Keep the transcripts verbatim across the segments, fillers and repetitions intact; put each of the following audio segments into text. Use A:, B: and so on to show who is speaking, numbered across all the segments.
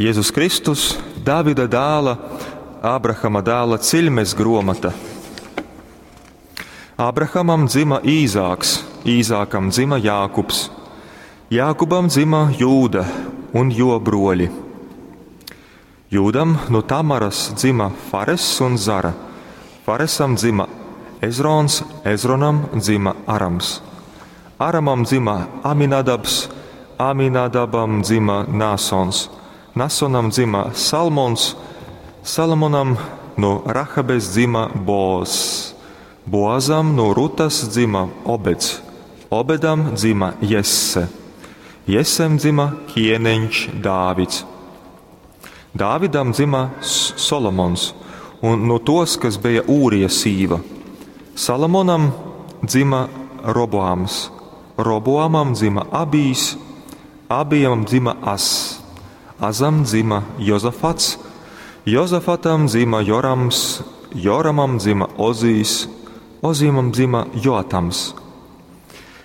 A: Jēzus Kristus, Davida dēla, Ābrahama dēla ciļmes gromata. Ābrahamam dzima Īzāks, Īzākam dzima Jākubs, Jākubam dzima Jūda un jo broļi. Jūdam no Tamaras dzima Faress un Zara, Faresam dzima Ezrons, Ezronam dzima Arams, Aramam dzima Aminadabs, Aminadabam dzima Nāsons, Nasonam dzima Salmons, Salomonam no Rahabes dzima Boazs, Boazam no Rutas dzima Obeds, Obedam dzima Jesse, Jesem dzima ķieniņš Dāvids. Dāvidam dzima Solomons, un no tos, kas bija Ūrija sīva. Salomonam dzima Roboams, Roboamam dzima Abijs, Abijam dzima Ass, Azam dzima Jozafats, Jozafatam dzima Jorams, Joramam dzima Ozijs, Ozijam dzima Joatams.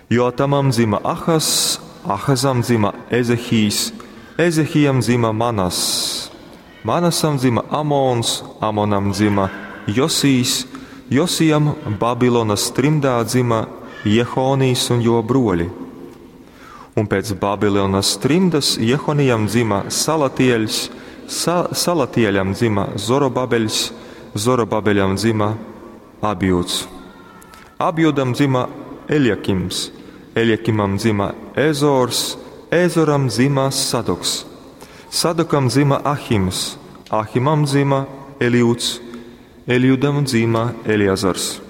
A: Joatamam dzima Ahaz, Ahazam dzima Ezehijs, Ezehijam dzima Manass, Manasam dzima Amons, Amonam dzima Josijs, Josijam Babilonas trimdā dzima Jehonijs un jo broļi. Un pēc Babilonas trimdas Jehonijam dzima Salatieļs, Sa Salatieļam dzima Zorobabeļs, Zorobabeļam dzima Abjuds. Abjudam dzima Eljakims, Eljakimam dzima Ezors, Ezoram dzima Sadoks. Sadokam dzima Ahims, Ahimam dzima Eliuds, Eliudam dzima Eliazars.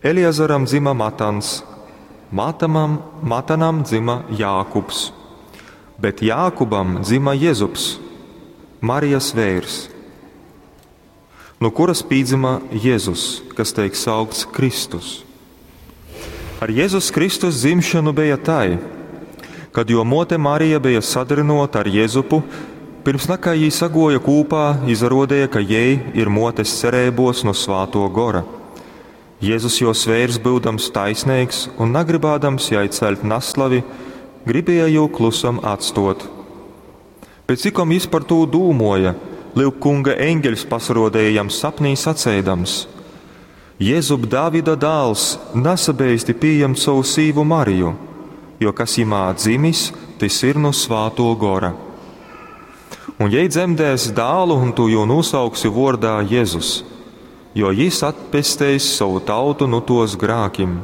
A: Eliazaram dzima Matans, Matamam, Matanam dzima Jākubs, bet Jākubam dzima Jezups, Marijas veirs, no kuras pīdzima Jēzus, kas teik saukts Kristus. Ar Jēzus Kristus dzimšanu bija tai, kad jo mote Marija bija sadrinota ar Jēzupu, pirms nakā jī sagoja kūpā, izarodēja, ka jei ir motes cerībos no svāto gora. Jēzus jos veirs būdams taisnīgs un nagribādams jai celt naslavi, gribēja jū klusam atstot. Bet cikom jis par tū dūmoja, Lyuk kunga eņģeļs pasarodēja jam sapnī sacēdams: Jēzub Dāvida dāls, nasabeisti pieņemt savu sīvu Mariju, jo kas jimā dzimis, tas ir no svāto gora. Un jei dzemdēs dālu, un tu jū nosauksi vordā Jēzus, jo jis atpesteis savu tautu no tos grākim.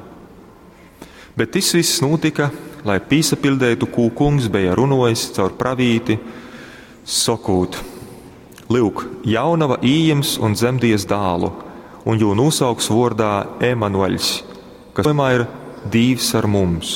A: Bet tas viss notika, lai pīsapildētu, kū kungs bija runojis caur pravīti, sokūt: Lūk, jaunava ījims un dzemdies dālu, un jū nosauks vordā Emanueļs, kas vienmēr ir Dīvs ar mums.